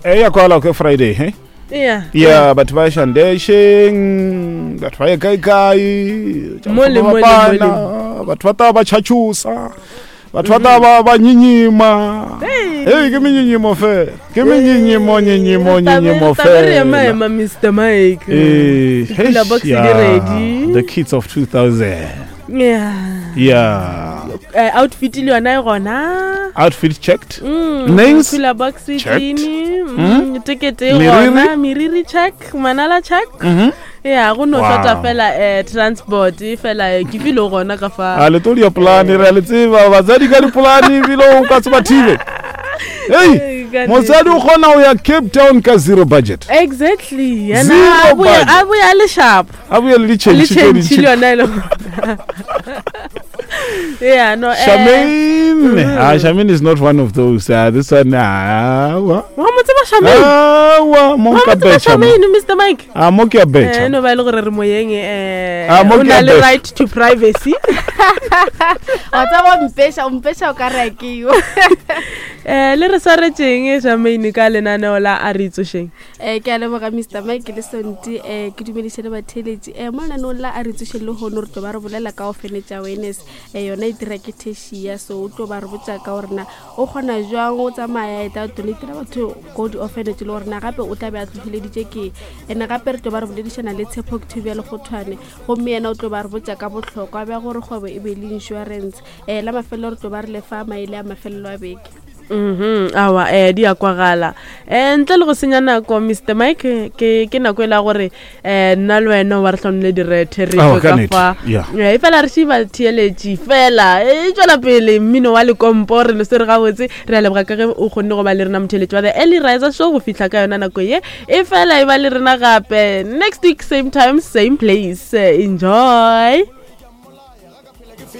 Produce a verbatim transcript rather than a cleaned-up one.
E ya kwala ke Friday, he? Yeah. Ya, batho ba shandesheng, batho ba ye kae kae, tša Mole, go mole, fapana, batho ba tla ba tšhatšhusa, batho ba tla ba ba nyinyima. Hey, ke menyinyimo fela, ke menyinyimo, nyinyimo, nyinyimo Re ema fela. ema Mister Mike. Eh, Dipula eish, box di yeah, ready. The kids of two thousand. Yeah. Yeah. Eh, outfit le yona e gona. Outfit checked. Mm, Nails cooler box e checked. clean. Mm, ticket e Meriri? gona, meriri check, manala check. Mhm. Yeah, go no Wow. hlota fela eh transport e fela eh, ke file gona ka fa. A le tlo dia polane, re a le tseba batsadi ka dipolane, ebile o ka tseba thibe. Hei, Ee, ka motsadi o kgona go ya Cape Town ka zero budget. Exactly. Yena Zero a boya budget. a boya le sharp. A boye le Le ditšhentšhe tše change dintši. le yona e le gona. Yeah, no eh Charmaine. Ah, Charmaine is not one of those. Uh, this one, ah, wa. Wa mo tseba Charmaine? Ah, wa, mo Wa mo ka tseba betšha mo. Charmaine, Mister Mike? Ah, mo ke a Eh, betšha. no ba e le gore re moyeng eh Ah, mo o ke na a le betšha. right to privacy. Wa tseba, o mpeša, o mpeša o ka re a ke yo. Eh, le re swaretšeng Charmaine ka lenaneo la A Re Itsošeng? um ke a leboga, Mister Mike le Sonti. um ke dumediše le batheeletši. um mo lenaneong la A Re Tsošeng le kgono re tlo ba re bolela ka orphanage awareness. um yona e dira ke Tertia, so o tlo ba re botša ka gorena o kgona jwang o tsamaya eta donatela batho ko di-orphanage, le gorena gape o tla be a tlogeleditše ke. And gape re tlo ba re boledišana le Tshepo Octavia Lekgothwane, gomme yena o tlo ba re botša ka bohlokwa bja gore kgwebo e be le insurance. um la mafelelo re tlo ba re lefa maele a mafelelo a beke. Mhm, awa eh di a kwagala. Eh ntle le go senya nako, Mister Mike, ke ke nako e la gore eh nna le wena wa re hlonle direthe re Aowa, tšwe ka ka nnete, fa. yeah. Eh, e fela re šiba theeletši fela e tšwela pele mmino wa lekompo re le swere gabotse. Re a leboga ka ge o kgonne go ba le rena, motheeletši wa The Early Riser Show, go fihla ka yona nako ye. E fela e ba le rena gape next week, same time, same place. Enjoy.